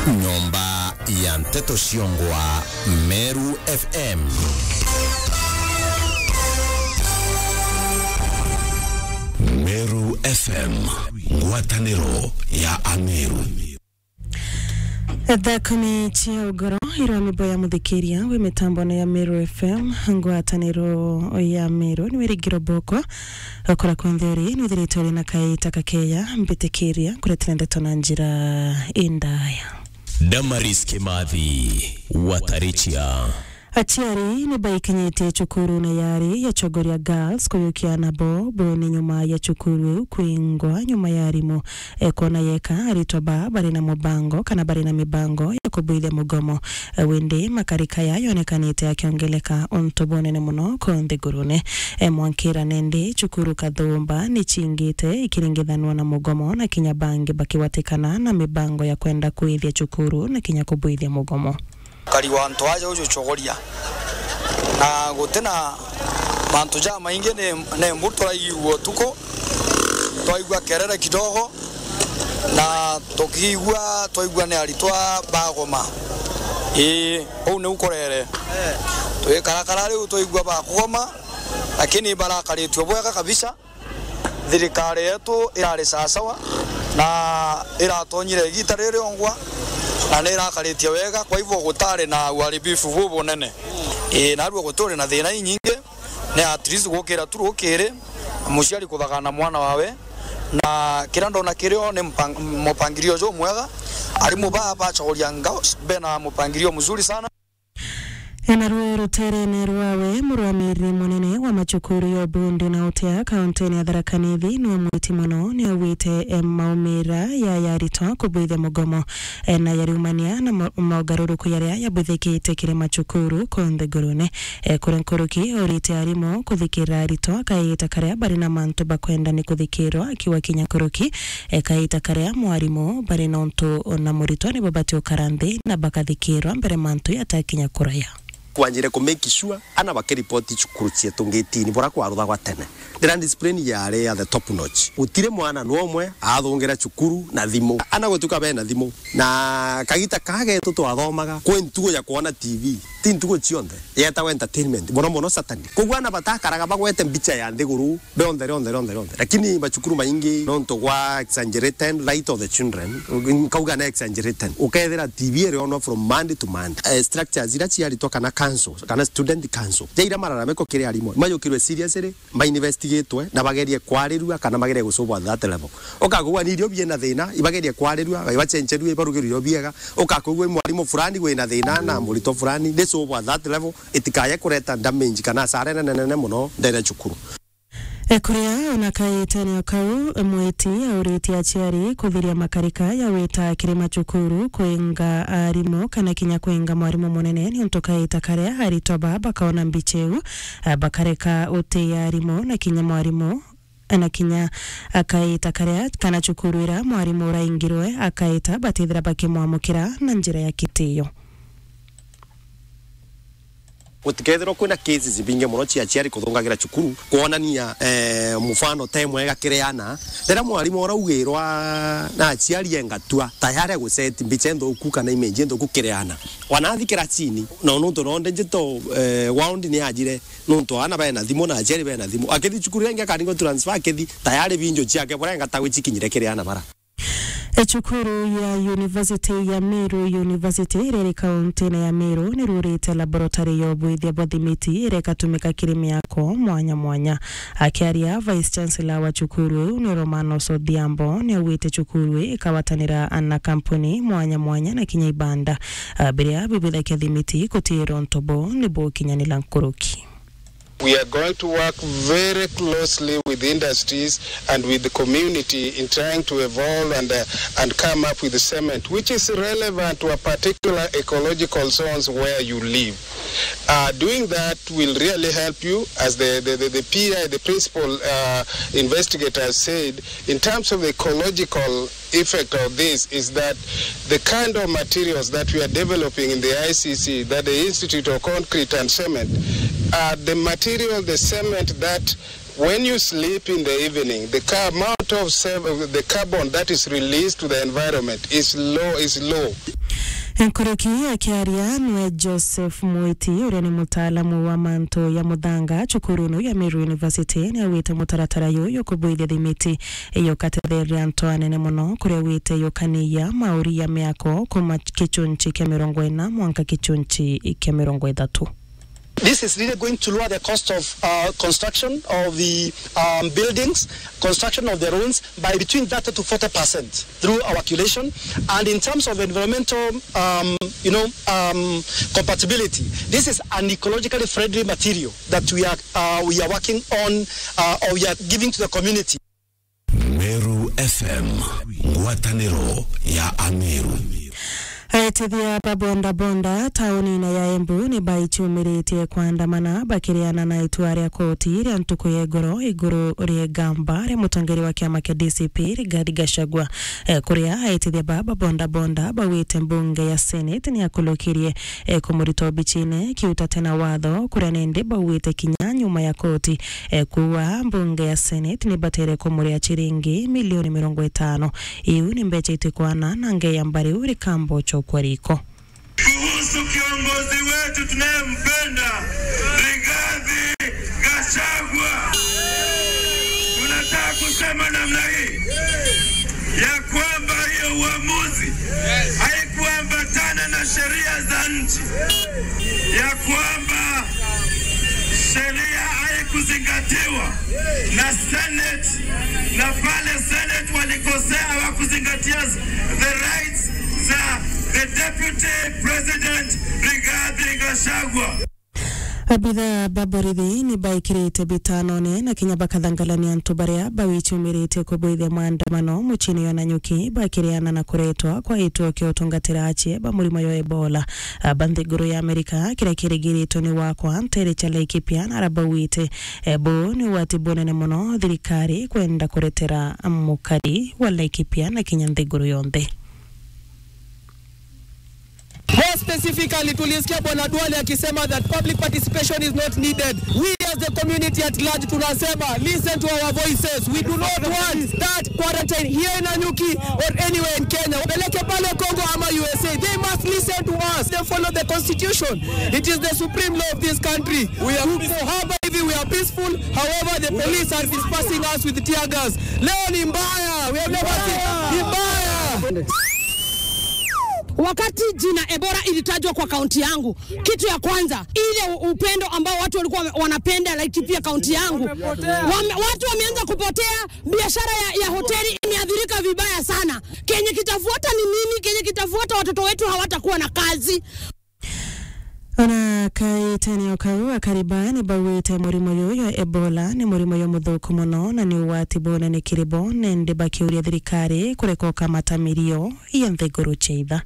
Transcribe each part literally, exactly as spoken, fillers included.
Nyomba ya nteto ciongwa Meru F M. Meru F M, ngwataniro ya Ameru. Thaa kumi cia ugoro, irwa mibo ya muthikiria wi mitambone ya Meru F M, ngwataniro ya Meru, ni wirigiro boko. Okora kwenthe uri, nwithiritwe uri na kaita kakeya, mbitikiria kuretera ndeto na njira indaya. Damaris Kimathi, Watarichia. Aciari ni baikinyitie cukuru na yari ya Chogoria Girls kuyukia nabo bone nyuma ya cukuru iu kwingwa nyuma ya arimu, e, kwona yeka aritwa ba bari na mubango kana bari na mibango ya kubuithia mugomo. E, windi makarika ya yonekanite akiongeleka untu bunene muno ku nthigurune. E, mwankira nendi cukuru kathumba ni cingite ikiringithanwa na mugomo na kinya bangi bakigwatikana na mibango ya kwenda kuithia cukuru na kinya kubuithia mugomo. Ukari wa antu aja uju Chogoria. Na gutina mantu jamaingi ni, ni mbu turaigua utuku, twaigua kerere kidogo, na tukiigua, twaigua ni aritwa bagoma. Ii, uu niu kurere. Twikarakara riu twaigua bakugoma, lakini barakaritue bwega kabisa. Thirikari yetu irari sawasawa na iratonyire igita riri ongwa na ni irakaritie wega, kwa hivyo gutari na uharibifu bubunene. Ii, narua guturi na thina inyingi, ni at least gukira tu rukiri, muciari kuthagana mwana wawe, na kiria ndona kirio ni mpang-, mupangirio jumwega. Arimu baa ba Chogoria Girls bena mupangirio mzuri sana. Naruo ruterene rwawe, murwamiri munene wa macukuru ya Ubundu na Utea, kauntini ya Tharaka Nithi, niwe mwiti muno, niaugite, e, maumira ya yaritwa kubuithia mugomo, e, na yariumania na mo-, mogaruruku yaria yabuthikite kiri macukuru ku nthigurune. E, kuri nkuruki, urite arimu kuthikira aritwa kaita karia bari na mantu bakwenda ni kuthikirwa, akiwa kinya nkuruki, e, kaita karia mwarimu bari na untu na muritwa nibo bati ukara nthi na bakathikirwa mbere mantu yatakinya kuraya. Kwanjire ku make sure ana bakiripoti cukuru cietu ngitini bura kwaruthagwa tene. Ndira discipline yari ya the top notch. Gutiri mwana no umwe athungira cukuru na thimu. Ana gutuka bena thimu. Na kagita kagetu twathomaga, kwi ntugo ya kwona T V. Ti ntugo cionthe. Yetagwa entertainment. Mono mono Saturday. Koguo ana batakaraga bagwete mbicha ya nthiguru. Rionthe, rionthe, rionthe, rionthe. Lakini macukuru maingi, nontu gwa exaggerated light of the children, nkauga na exaggerated. Ukethira T V irionwa from Monday to Monday. Eh, structures iria ciaritwa kana council, kana student council. Jaira mararamiko kiri arimu. Mayukirwe seriously, ma investigatwe, na bagerie kwarirua, kana bagerie gusolve at that level. Ukakugua ni irio biena thina, ibagerie kwarirua, ibacencerue, ibarugerwe irio biega. Ukakugua mwarimu fulani wina thina na muritwa fulani, ni solve at that level, itikaye kureta damage kana hasara nene nene muno ndene cukuru. E, kuria ona kaitenio kau, mwiti auritie aciari kuthiria makarika ya wita kiri macukuru kwinga arimu kana kinya kwinga mwarimu munene, niuntu kaita karia aritwa baa bakaona mbicha iu, a, bakareka utii arimu na kinya mwarimu, na kinya akaita karia kana cukuru ira mwarimu uraingirwe akaita batithira bakimwamukira na njira ya kitio. Gutikethirwa kwina cases ibingi muno cia aciari kuthungagira cukuru, kwonania, eh, mufano te mwega kiri ana. Riria mwarimu uraugirwa na aciari engatua, tayari aguseti mbicha nthuku kana image nthuku kiri ana. Wanathi kiracini, na nontu nonde njito, eh, wound ni ajire, nontu ana bena thimu na aciari bena thimu. Akithi cukuru ingi akaringwa transfer, akithi tayari binjo ciake bura engatagwi cikinyire kiri ana bara. Ecukuru ya University ya Meru University iria iri kauntine ya Meru nirurite laboratory ya ubuithia bwa thimiti iria ikatumika kiri miako mwanya mwanya. Akiaria, Vice Chancellor wa cukuru iu ni Romanos Odhiambo niaugite cukuru ii ikawatanira na kampuni mwanya mwanya na kinya ibanda, a, biria bibwithagia thimiti gutiirwa ntobo ni bukinyanira nkuruki. We are going to work very closely with industries and with the community in trying to evolve and, uh, and come up with cement, which is relevant to a particular ecological zones where you live. Uh, doing that will really help you, as the, the, the, the P I, the principal, uh, investigator said, in terms of the ecological effect of this is that the kind of materials that we are developing in the I C C, that the Institute of Concrete and Cement, are the material, the cement that when you sleep in the evening, the ca-, amount of sev-, the carbon that is released to the environment is low, is low. Nkuruki akiaria nwe Joseph Mwiti, uria ni mutaalamu wa mantu ya muthanga cukurunu ya Meru University, ni augite mutaratara uyu jukubuithia thimiti yukatetheria antu anene mono, kuria augite yukaniia mauri ya miako kuma kichunchi kia mirongo ina mwanka kichunchi kia mirongo ithatu. This is really going to lower the cost of, uh, construction of the, um, buildings, construction of the roads by between thirty to forty percent through our calculation. And in terms of environmental, um, you know, um, compatibility, this is an ecologically friendly material that we are, uh, we are working on, uh, or we are giving to the community. Meru F M, ngwataniro ya Ameru. Aitithia ba boda boda taunine ya Embu ni baichumiritie kwandamana bakiriana na itua ria koti ria ntuku ya igoro iguru ria igamba ria mutongeri wa kiama kia D C P Rigathi Gachagua. Eh, kuria aitithia ba ba boda boda bawite mbunge ya Senate ni akulukirie, eh, kumurita obichine kiutate na watho, kuria nindi bauite kinya nyuma ya koti, eh, kuuga mbunge ya Senate ni batere kumuria chiringi milioni mirongo itano. Iu ni mbecha itikwana na ngei ya mbari uri kambo chokwa riko. Kuhusu kiongozi wetu tunayempenda, Rigathi Gachagua, tunataka kusema namna hii, ya kwamba hiyo uamuzi haikuambatana na sheria za nchi, ya kwamba sheria haikuzingatiwa na Senate, na pale Senate walikosea, hawakuzingatia the rights za the Deputy President Rigathi Gachagua. Abitha ba borithi ni baikirite bitanone na kinya bakathangalania antu baria bawichumiritie kubuithia maandamano muchini yo Nanyuki bakiriana na kuretwa kwa gituo kia utungatira achie ba murimo yo Ebola. Aba nthiguru ya Amerika, kiria kirigiritwe ni wakwa ntere cha Laikipia na arabauite, eh, bu ni ugwati bunene mono thirikari kwenda kuretera mukari wa Laikipia na kinya nthiguru yonthe. More specifically, tulisikia Bwana Duale akisema that public participation is not needed. We as the community at large tunasema, listen to our voices. We do not want that quarantine here in Nanyuki or anywhere in Kenya. Wapeleke pale Congo ama U S A. They must listen to us. They follow the constitution. It is the supreme law of this country. We are tuko hapa hivi, we are peaceful. However, the police are dispersing us with tear gas. Leo ni mbaya. We have never seen. Ni mbaya. Wakati jina Ebola ilitajwa kwa kaunti yangu, kitu ya kwanza, ile u-, upendo ambao watu walikuwa wame-, wanapenda Laikipia kaunti yangu, wame-, watu wameanza kupotea, biashara ya, ya hoteli imeathirika vibaya sana. Kenye kitafuata ni nini? Kenye kitafuata, watoto wetu hawatakuwa na kazi. Ona kaitene o kau, akari baa ni bauite murimo juju jwa Ebola ni murimo jumuthuku mono na ni ugwati bunene kiri bo, nindi bakiuria thirikari kureka ukamata mirio ya nthiguru cia itha.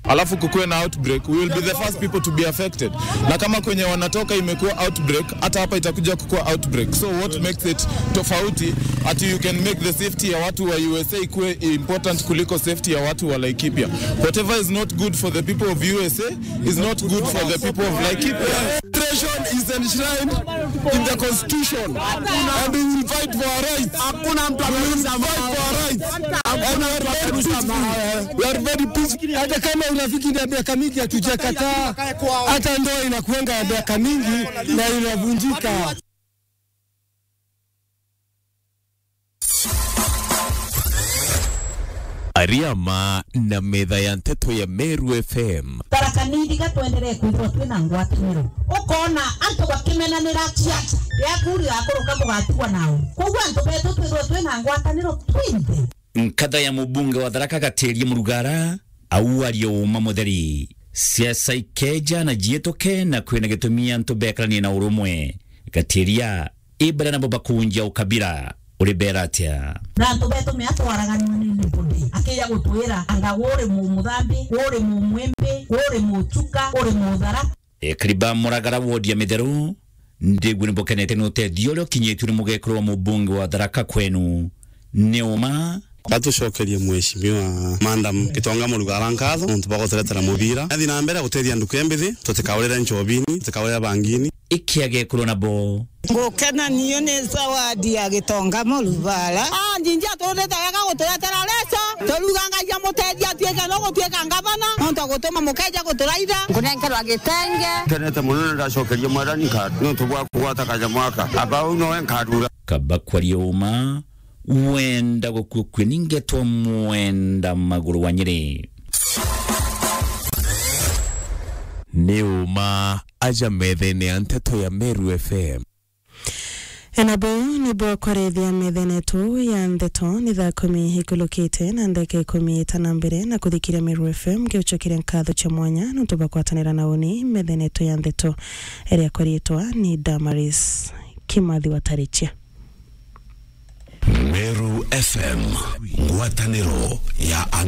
Alafu kukuwe na outbreak, we will be the first people to be affected. Na kama kwenye wanatoka imekuwa outbreak, hata hapa itakuja kukuwa outbreak. So what makes it tofauti ati you can make the safety ya watu wa U S A ikuwe important kuliko safety ya watu wa Laikipia? Whatever is not good for the people of U S A is not good for the people of Laikipia. Administration is enshrined in the constitution and we will fight for our rights. Hakuna mtu atarusha mawe. We will fight for our rights. Hakuna mtu atarusha mawe. We are very peaceful. Hata kama urafiki ni ya miaka mingi hatujakataa, hata ndoa inakuanga ya miaka mingi na inavunjika. Ariama na metha ya nteto ya Meru F M. Tharaka Nithi ga twenderee kwithirwa twina ngwataniro. Ukona antu bakimenanira ciaca, riaku rigakuruka bugatigwa nau. Koguo antu betu twithirwe twina ngwataniro twinthe. Nkatha ya mubunge wa Tharaka Gatiria Murugara, au aria uma mutheri. Siasa ikeja na jiituke na kwina gitumi antu bekaranie na urumwe. Gatiria, ibara nabo bakunjia ukabira, uri bera atia? Na antu betu mea twaraganwa ni nibudi. Akija gutwira, anga uri mumuthambi, uri mumwimbi, uri muchuka, uri muthara. Ekari ba Muragara wodi ya Mitheru, ndigua ni bukenete ni utethio uria ukinyitue ni mugekuru wa mubunge wa Tharaka kwenu, ni uma. Batucokerie Mheshimiwa Madam Gitonga Murugara nkatho nontu bwa guturetera mubira. Athi na mbere gutethia nduku imbithi, tutikaurire nchobini, tutikaurire bangini. Ikiagekurwa nabo Ngukena niyo ni zawadi ya Gitonga Murubara. Ah, Njinji aturutite wega guturetera leso. Turuga Ngai amutethie atuike no gutuika ngavana. Nontu agutuma mukeja guturaitha. Nkunenkerwa gitenge. Nkenete mono na ndacokeria Mwathani nkatho nontu bwa kugwata kanyamu gaka. Aba uu nowe nkarura. Kaba kwaria uma, wenda gukua kue ni ngetwa Mwenda Maguru wa Nyeri. Ni uma aja methene ya nteto ya Meru F M. Ena buu nibuo kwarethia methene yetu ya nteto ni thaa kumi ikulukite na ndeka ikumi itana mbere na kuthikiria Meru F M, ngiucokeria nkatho cia mwanya nontu bwa kwatanira na uni methene yetu ya nteto iria kwaritwa ni Damaris Kimathi wa Tarichia. Meru F M, ngwataniro ya